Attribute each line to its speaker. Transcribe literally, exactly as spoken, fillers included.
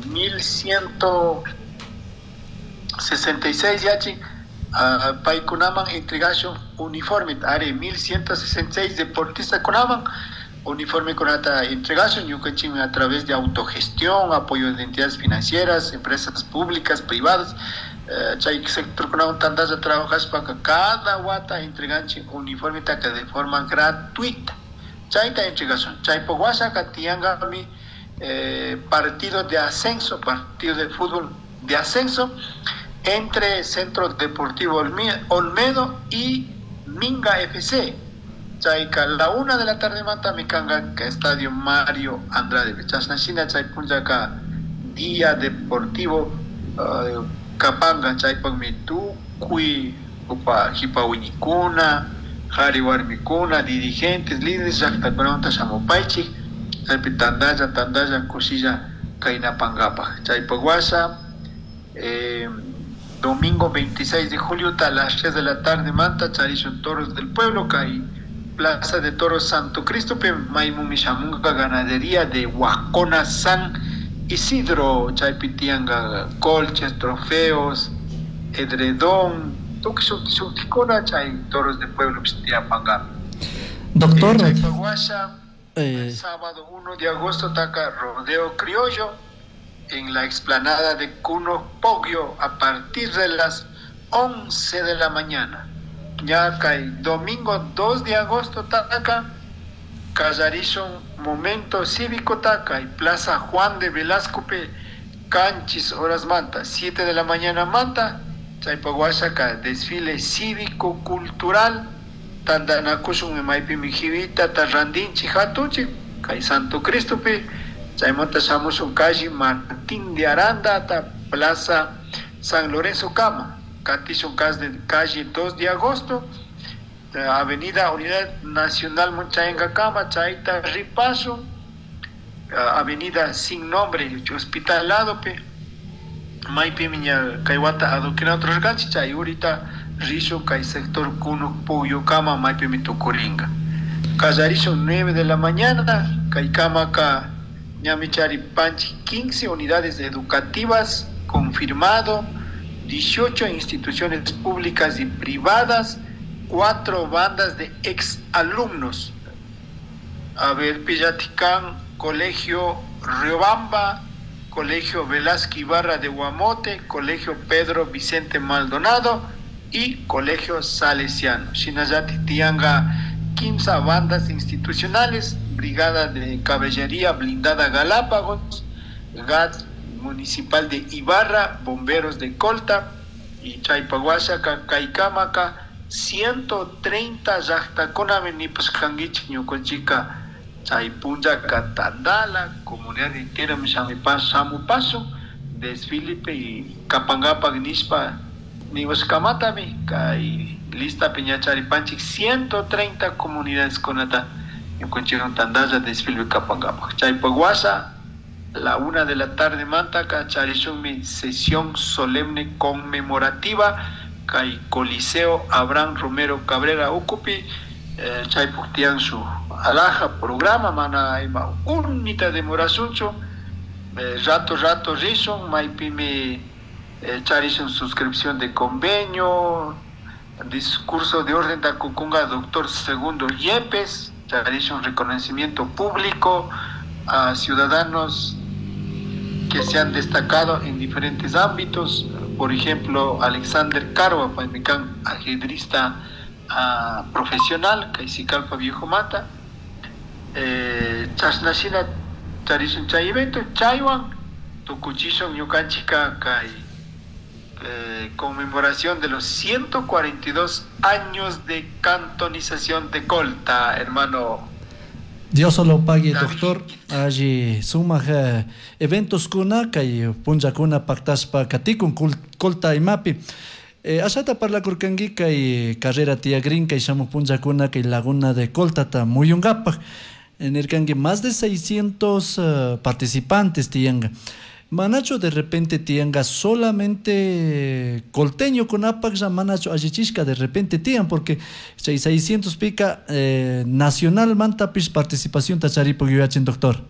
Speaker 1: mil ciento sesenta y seis yachi uh, paykunaman entregashun uniforme ari mil ciento sesenta y seis deportista kunaman uniforme kunata entregashun ñukanchikmi a través de autogestión, apoyo de entidades financieras, empresas públicas, privadas, uh, chay sector kunawan tantalla trabajashpaka cada wata entreganchik uniforme taka de forma gratuita. Chayta entregashun. Chaypaq washaka tiyankami eh, partido de ascenso, partido de fútbol de ascenso entre Centro Deportivo Olmedo y Minga F C. Chayka la una de la tarde manta mikanga ka Estadio Mario Andrade. Chashnashina chay punllaka día deportivo uh, kapanga chaypaqmi tukuy upa hipawiñikuna, qhari warmikuna, dirigentes, líderes llaqtakunamanta shamupaychik chaypi tantalla tantalla kushilla kaynapankapaq. Chaypaq washa eh, domingo veintiséis de julio a las tres de la tarde manta charishun Toros del Pueblo kay Plaza de Toros Santo Cristo pe maymumi shamunga ganadería de Huacona San Isidro chaypi tiyanka colches, trofeos, edredón, tukuy shutikuna chay Toros del Pueblo tiyapanka.
Speaker 2: Doctor,
Speaker 1: eh, chaypaq washa,
Speaker 2: eh,
Speaker 1: el sábado uno de agosto taka rodeo criollo en la explanada de Cuno Poggio a partir de las once de la mañana. Ya kay domingo dos de agosto taka kallarishun momento cívico taka y Plaza Juan de Velasco pe canchis horas manta, siete de la mañana manta, chaypaq washaka desfile cívico cultural tantanakushun maypi mijivita tarrandinchik hatunchik kay Santo Cristo pe chaymanta shamushun calle Martín de Aranda hasta Plaza San Lorenzo Cama, katishun calle dos de agosto, Avenida Unidad Nacional Munchaenga Cama, chayta ripasun, Avenida Sin Nombre, Hospital Lado pe maypi miña kaywata adoquina otros ganchi chay urita rishun kay sector Kunuq Pugyo kama maypimi tukuringa. Kallarishun nueve de la mañana kay kamaka ñamichari panchi quince unidades educativas confirmado, dieciocho instituciones públicas y privadas, cuatro bandas de ex alumnos. A ver, Pillaticán, Colegio Riobamba, Colegio Velázquez Ibarra de Guamote, Colegio Pedro Vicente Maldonado y Colegio Salesiano. Shinayati tianga quince bandas institucionales, Brigada de Caballería Blindada Galápagos, G A D Municipal de Ibarra, Bomberos de Colta y Chaypahuachaca, Caicamaca, ciento treinta llaqtakuna nipasqankichik ñuqanchikqa chay punllaka tandala, comunidad entera shamupasun, desfile y kapankapak nishpa niwasqamatami kay lista piñacharipanchik ciento treinta comunidades kunata ñuqanchikwan tandalla desfile kapankapak. Chaypaq washa la una de la tarde mantaka charishunmi sesión solemne conmemorativa kay Coliseo Abraham Romero Cabrera Ucupi, eh, chaypaq tiyan su alhaja programa mana ima unita demorasunchu, eh, rato rato rishun maypimi, eh, charishun suscripción de convenio, discurso de orden takukunga doctor Segundo Yepes, charishun reconocimiento público a ciudadanos que se han destacado en diferentes ámbitos, por ejemplo Alexander Carva, paymikán ajedrista, ah, profesional, Kaisikalpa Viejo Mata, eh, chashnashina charishun chay evento, chaywan tukuchishun ñukanchika kay, eh, conmemoración de los ciento cuarenta y dos años de cantonización de Colta, hermano.
Speaker 2: Dios solo pague,
Speaker 1: David.
Speaker 2: Doctor. Allí sumaj, eh, eventos kuna kay punllakuna pactaspa katikun kul-, Colta imapi. Eh, ashata parlakurkanki kay carrera tiagrin kay shamuj punllakuna kay Laguna de Coltata muyunkapak. Nirkanki más de seiscientos, eh, participantes tianga. Manacho de repente tianga solamente colteño con apax, manacho allichishka de repente tian, porque seiscientos pica, eh, nacional mantapis participación tacharipo yuyachin, doctor.